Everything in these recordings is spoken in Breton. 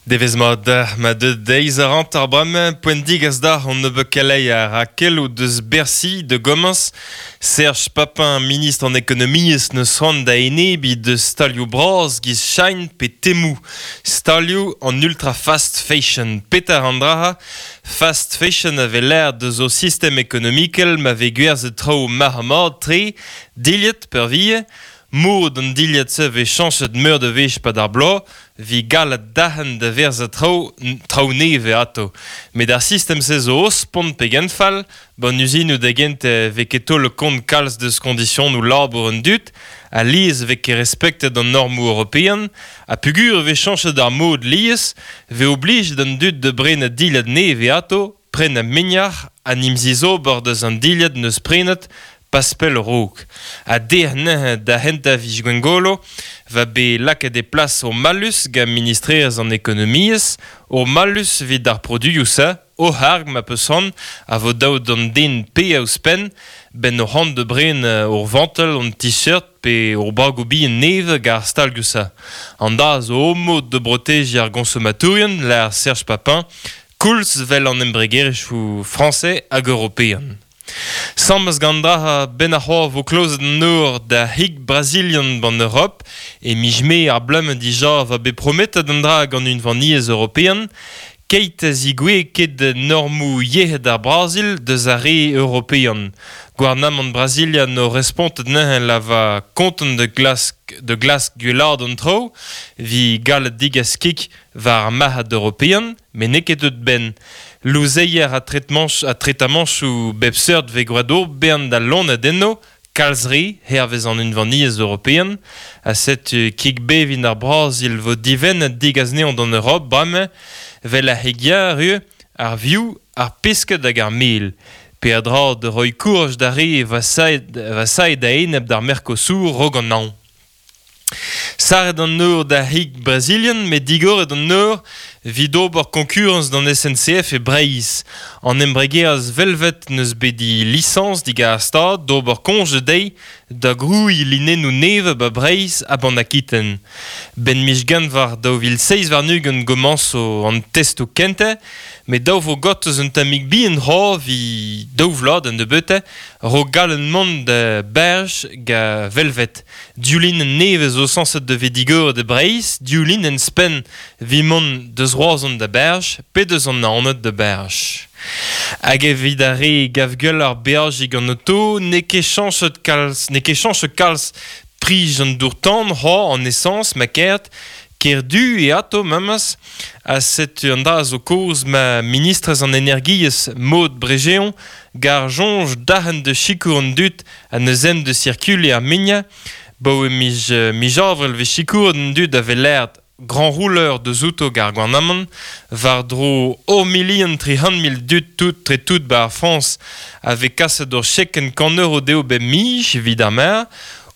Devezh mat deoc'h, ma deuet deiz a ranter bremañ, poent digas deoc'h an nebeud keleier ha keloù deus Bercy da gomañs. Serge Papin, ministr an ekonomiezh, n'eus c'hoant da enebiñ deus stalioù bras giz Shine pe Temu. Stalioù an ultra fast fashion. Petra an dra Fast fashion a vez lâret deus o sistem ekonomikel ma vez gwerzhet traoù marc'h-mat-tre, dilhad peurvuiañ. Mod an dilhad-se vez chañchet meur da wech 'pad ar bloaz, 'vit gallet derc'hen da verzañ traoù traoù nevez atav. Met ar sistem-se zo o spont pegen fall, 'ban uzinoù da gentañ 'vez ket taolet kont kalz deus koñdisionoù labour an dud, alies 'vez ket respektet an normoù european, ha peogwir e vez chañchet ar mod lies, 'vez oblijet an dud da brenañ dilhad nevez atav, prenañ mignac'h ha 'n em zizober deus an dilhad 'neus prenet pas pell a-raok. Ha dec'h neuze da c'hentañ viz Gwengolo va bet lakaet e plas ur mallus gant ministrerezh an ekonomiezh, ur mallus evit ar produioù-se, o c'harg ma peus c'hoant, a vo dav d'an den paeañ ouzhpenn, 'benn o c'hoant da brenañ ur vantell, un t-shirt pe ur bragoù bihan nevez gant ar stalioù-se. An dra zo o mod da brotejiñ ar goñsomatourien, lâr Serge Papin, koulz 'vel an embregerezhioù frañsez hag european. Sammez gant dra 'benn ar c'hoar 'vo klozet an nor da c'hig brazilian 'ban Europ. E miz Mae ar bloaz-mañ dija 'va bet prometet an dra gant Unvaniezh European. Keit a zigouezh ket normoù yec'hed ar Brazil deus ar re european. Gouarnamant Brazilia 'no respontet neuze la va kontant da glask da glask gwellaat an traoù 'vit gallet degas kig war ar marc'had european met n'eo ket deut 'benn. Louzeier ha tretamañchoù bep seurt 'vez gwraet ober bern da loened enno, kalz re, hervez an Unvaniezh European. Ha setu kig bevin ar Brazil 'vo divennet degas anezhañ d'an Europ bremañ, 'vel ar c'hig-yar ivez, ar vioù, ar pesked hag ar mel. Peadra da roiñ kouraj d'ar re vasaet a-enep d'ar Mercosur 'raok an hañv. Sarret an nor d'ar c'hig brazilian met digoret an nor evit ober koñkurañs d'an SNCF e Breizh. An embregerezh Velvet 'neus bet he lisañs digant ar Stad d'ober koñje dezhi da grouiñ linennoù nevez 'ba Breizh ha 'ban Akiten. 'Benn miz Genver 2027 gomañso an testoù kentañ met dav 'vo gortoz un tammig bihan c'hoazh 'vit daou vloaz da nebeutañ 'raok gallet mont da Berj ga Velvet. Div linenn nevez zo sañset da vez digoret e Breizh, div linenn spenn evit mont deus Roazhon da Berj pe deus an Naoned da Berj. Hag evit ar re gav gwelloc'h beajiñ gant oto, n'eo ket chañchet kalz, n'eo ket chañchet kalz prij an dour-tan c'hoazh an esañs ma kêrt, Kerdu eo atao memes, ha setu an dra zo kaoz ma ministrez an energiezh Maud Bregeon gar soñj derc'hen da sikour an dud ha neuze en deus circuliñ ar mignañ. 'Baoe miz miz Avril 'vez sikouret an dud a vez lâret grand rouleur deus outo gant ar gouarnamant war-dro ur milion 300 000 dud tout tre tout 'ba ar Frañs a vez kaset ur chekenn kant euro dezho bep miz evit ar maer.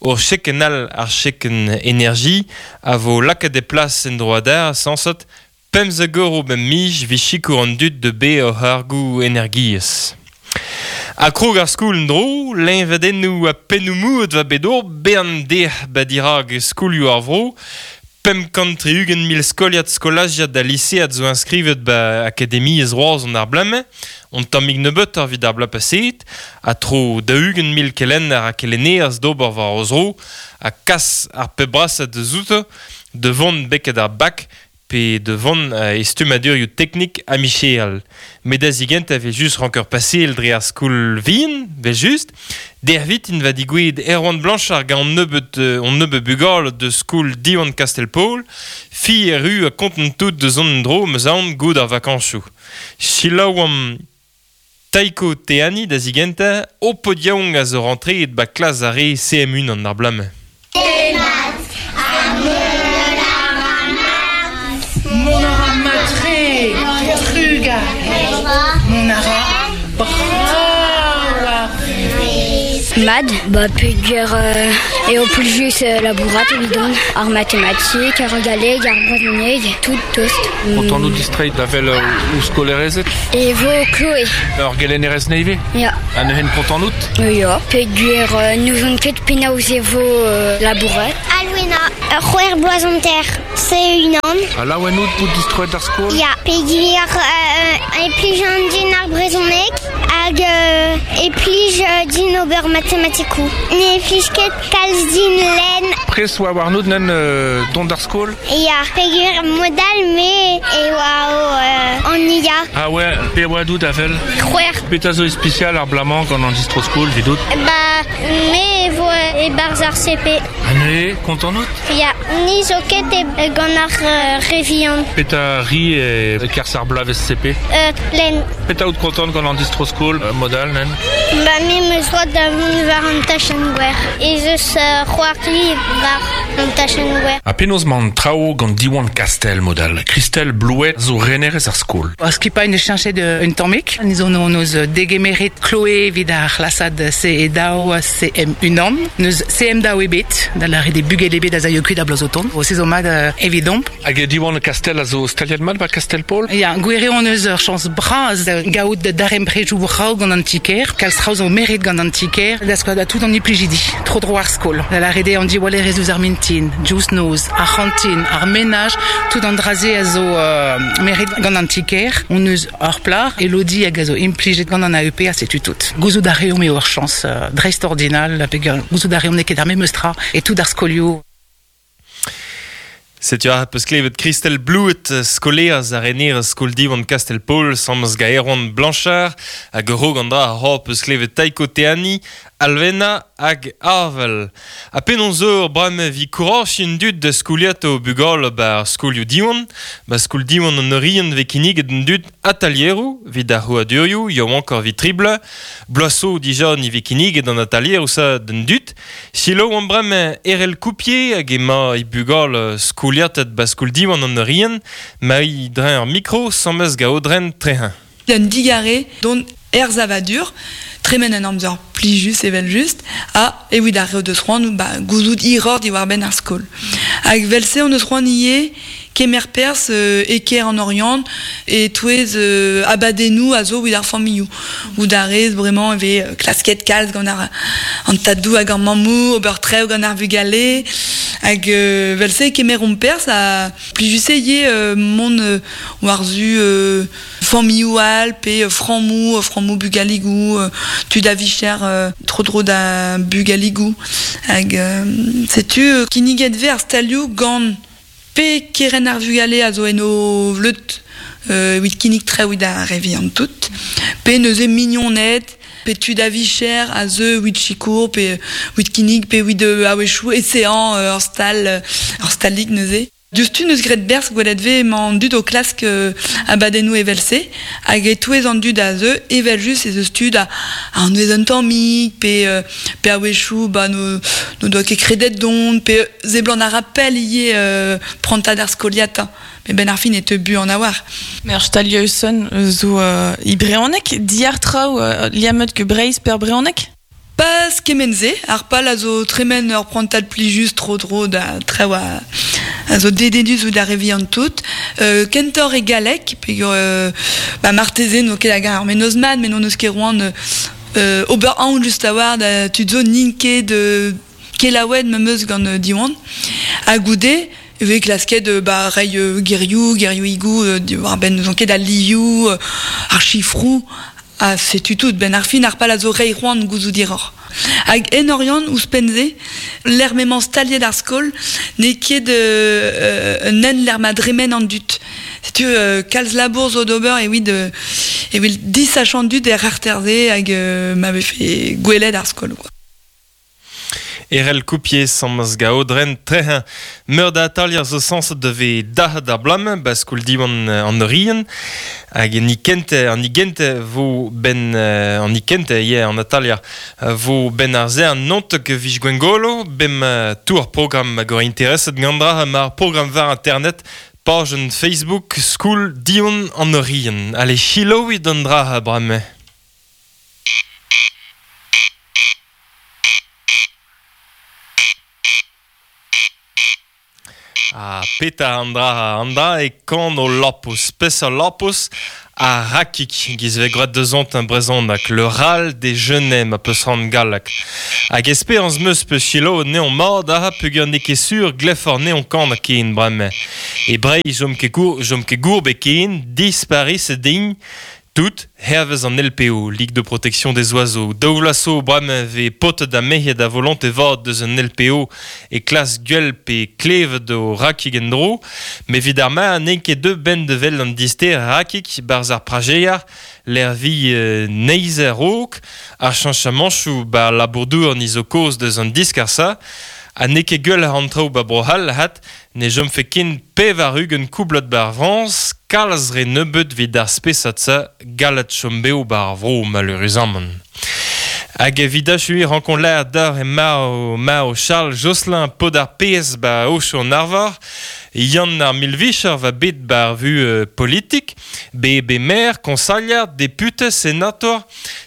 Ur chekenn all, ar chekenn energie, a vo lakaet e plas en-dro adarre sañset 15 euro bep miz 'vit sikour an dud da baeañ o c'hargoù energiezh. Ha krog ar skol en-dro, leñvadennoù ha pennoù-moud 'va bet ober bern dec'h 'ba dirak skolioù ar vro. 560 000 skoliad skolajiad ha lisead zo inskrivet 'ba akademiezh Roazhon ar bloaz-mañ, un tammig nebeutoc'h evit ar bloaz paseet, ha tro 40 000 kelenner ha kelennerez d'ober war o zro ha kas ar pep brasañ deus outo da vont betek ar bak pe da vont e stummadurioù teknik ha micherel. Met da zigentañ evel-just ranker paseal dre ar skol vihan, evel-just. Dervit int va digouezhet Erwan Blanchard gant an nebeud hon nebeud bugale deus skol Diwan Kastell-Paol. Fi erru ha kontant tout da zont en-dro 'm eus aon goude ar vakañsoù. Selaouomp Taiko Teani da zigentañ, ho paotr yaouank a zo rantreet 'ba klas ar re CM1 ar bloaz-mañ. Demat ha mont a ra mat. Mont a ra mat-tre, trugarez. Mont a ra brav ar vuhez. Mat, ba peogwir eo plijus labourat evidon, ar matematik, ar galleg, ar brezhoneg, tout tost. Contant out distreiñ da wel ouzh skolaerezed? E vo Chloé. Ur gelennerez nevez? Ya. Ha neuze contant out? Ya, peogwir n'ouzon ket penaos e vo labourat. Alwena, ur c'hwec'h bloaz hanter, se unan. Ha laouen out bout distroet d'ar skol? Ya, peogwir e plij an din ar brezhoneg hag e plij din ober matematikoù. Ne plij ket kalz din lenn. Pres oa warnout nen dont d'ar skol? Ya, peogwir mod all me e oa o an IA. Ah ouais, pe oa dout avel? C'hwec'h. Petra zo ispisial ar blamañ gant an distro-skol, vidout? Ba, me e vo e-barzh ar CP. Ha neuze, kontant out? Ya, ni zo ket e gant ar re vihan. Petra ri e kerzh ar bloavezh CP? Lenn. Petra out kontant gant an distro-skol, mod all, nen? Ba, me 'm eus droad da vont war an tachenn gwer. Ez eus c'hoari war an tachenn gwer. Ha penaos 'mañ an traoù gant Diwan Kastell mod all? Christelle Blouet zo renerez ar skol. Ar skipailh 'neus cheñchet un tammig. Ni zo hon eus degemeret Chloé evit ar c'hlasad CE2 CM1. N'eus CM2 ebet, da lâret eo bugel ebet a zaio kuit a bloaz o tont. Se zo mat evidomp. Hag Diwan Kastell a zo staliet mat 'ba Kastell-Paol? Ya, gwir eo hon eus ur chañs bras da gaout darempredoù brav gant an ti-kêr. Kalz traoù zo meret gant an ti-kêr da skouer da tout an implijidi tro-dro ar skol. Da lâret eo an diwallerezh ouzh ar mintin, diouzh noz, ar c'hantin, ar menaj, tout an dra-se a zo meret gant an ti-kêr. Hon eus ur plac'h, Elodie, hag a zo implijet gant an AEP ha setu tout. Gouzout a reomp eo ur chañs dreistordinal, peogwir gouzout a reomp n'eo ket ar memes tra e tout ar skolioù. Setu aze peus klevet Christelle Blouet, skolaerez ha renerez skol Diwan Kastell-Paol, sammez gant Erwan Blanchard, hag a-raok an dra a peus klevet Taiko Teani, Alvena hag Avel. Ha penaos eur bremañ evit kourachiñ an dud da skoliata o bugale 'ba ar skolioù Diwan? 'Ba skol Diwan an Oriant 'vez kinniget an dud atalieroù evit ar c'hrouadurioù yaouankoc'h evit tri bloaz. Bloaz zo dija ni 'vez kinniget an atalieroù-se d'an dud. Selaouomp bremañ Erell Coupier hag emañ he bugale skoliatet 'ba skol Diwan an Oriant. Marie dreñv ar mikro, 'sammes gant Aodren Trehin. Un digarez dont er savadur, tremen un amzer plijus evel-just, ha evit ar re o deus c'hoant ba, gouzout hiroc'h diwar-benn ar skol. Hag evel-se hon eus c'hoant ivez kemer perzh e kêr an Oriant e-touez abadennoù a zo evit ar familhoù. Goût a rez bremañ e vez klasket kalz gant ar, an tadoù hag ar mammoù, ober traoù gant ar vugale. Hag evel-se e kemeromp perzh ha plijus eo ivez mont war-zu familhoù all pe frammoù, frammoù bugaligoù, tud a vicher tro-dro da bugaligoù. Hag setu kinniget 'vez ar stalioù gant pe kerent ar vugale a zo en o vleud evit kinnig traoù evit ar re vihan tout, pe neuze mignoned, pe tud a vicher a zeu evit sikour pe evit kinnig pe evit a-wechoù eseañ ur stal, ur stalig neuze. Diouzhtu 'neus graet berzh gwelet 'vez emañ an dud o klask abadennoù evel-se hag e-touez an dud a zeu evel-just ez eus tud a anvez un tammig pe pe a-wechoù ba n'o doa ket kredet dont pe seblant a ra pell ivez prantad ar skoliata met 'benn ar fin e teu buan a-walc'h. Met ar stalioù-son zo e brezhoneg, diàr traoù liammet get Breizh pe ar brezhoneg? Pas kement-se, ar pal a zo tremen ur prantad plijus tro-dro da traoù a zo dedennus ouzh ar re vihan tout. Kentoc'h e galleg, peogwir ba marteze n'o ket hag ar mennozh mat, met n'hon eus ket c'hoant ober aon just a-walc'h da tud zo n'int ket kelaouet memes gant Diwan. Ha goude e vez klasket ba reiñ gerioù, gerioùigoù diwar-benn n'ouzon ket al livioù, ar sifroù. Ha setu tout, 'benn ar fin ar pal a zo reiñ c'hoant gouzout hiroc'h. Hag en Oriant, ouzhpenn-se, lec'h m'emañ staliet ar skol, n'eo ket un hent lec'h ma dremen an dud. Setu kalz labour zo d'ober evit evit disachañ an dud er c'harter-se hag ma vefe gwelet ar skol. Quoi. Erell Coupier sammaz gaodren trec'hañ meur da atalier zo sañset da vez dac'het ar bloaz-mañ 'ba skol Diwan an Oriant hag an ikent an igent vo 'benn an ikent ivez an atalier vo 'benn ar se an naontek 'vije Gwengolo bem tour programm hag ur intereset gant dra mar programm war internet pajenn Facebook Skol Diwan an Oriant. Allez selaouit an dra bremañ. Ah, peta andra andra e kan o lapous. Pes ur lapous a rakik giz ve groet deus ont un brezonak, le ral des genais ma peus ran gallak. Hag esperans meus peus chilo neon mad aha peogwir n'eo ket sur gleffor neon kan a ken bremañ. E Breizh jom ket gour, jom ket gourbe ken, disparis din, Tout, hervez an LPO, Ligue de protection des oiseaux. Daou vloaz zo bremañ vez paotred ha merc'hed a volonte vat deus an LPO e klas gwell pe klevet o rakig en-dro. Met evit ar ma n'eo ket deuet 'benn da wel an dister rakig 'barzh ar prajeier lec'h vi neizh a-raok. Ar cheñchamanchoù 'ba labour-douar ni zo kaoz deus an diskar-se. Ha n'eo ket gwelloc'h an traoù 'ba Bro-C'hall 'hat, ne chomfe ken 80 koublad 'ba ar Frañs, kalz re nebeut 'vit ar spesad-se gallet chom bev 'ba ar vro maleüruzamant. Hag evit achuiñ rankomp lâret deoc'h emañ marv Charles Josselin paotr ar pezh 'ba Aochou-an-Arvor. Yann ar Milvicher va bet 'ba ar vuhez politik, bet bet maer, koñsailher, depute, senator,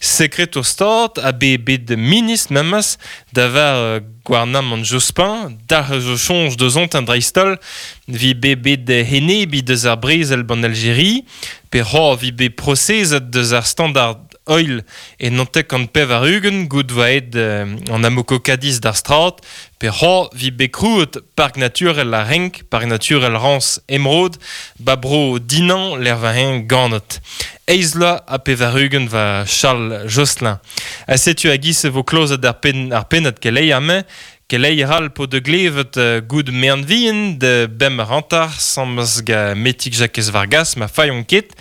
sekretour Stad ha bet bet ministr memes da var gouarnamant Jospin, dalc'h zo soñj deus dreist-holl, vi bet bet enebiñ deus ar brezel ban Aljeria, pe c'hoazh vi bet prosezet deus ar Standard Oil e 99 gout 'voa aet an Amoco-Cadiz d'ar strad, pe c'hoazh vi bet krouet Park naturel ar Renk, Park naturel Rañs Emeraude, ba bro Dinan lec'h 'va-eñ ganet. Eizh vloaz ha 80 va Charles Josselin. Ha setu a-giz e vo klozet ar, penn, ar pennad keleier-mañ. Keleier all po da glevet goud mean-vihan da bemp hanter sammez ga Metig Jakez Vargas ma failhomp ket.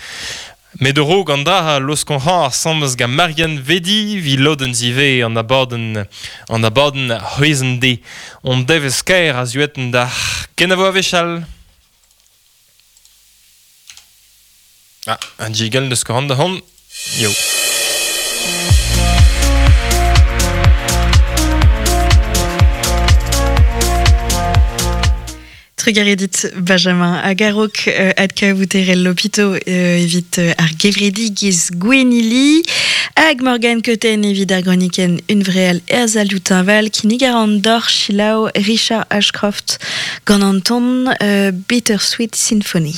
Met a-raok an dra laoskon hañ asambles gant Marianne Vedi 'vit lodenn zivez an abadenn an abadenn c'hwezh-an-deiz. Hon devezh kaer a zuetenn dac'h. Kenavo a-wechall. Ah, un jigel deus ket da hont. Yo. Trugarez dit Benjamin hag a-raok adkavout erel Lopito evit ar gevredigezh Gwenili hag Morgane Cotten evit ar gronikenn Unvreal er salioù teñval kinnig a ran deoc'h selaou Richard Ashcroft gant an ton Bittersweet Symphony.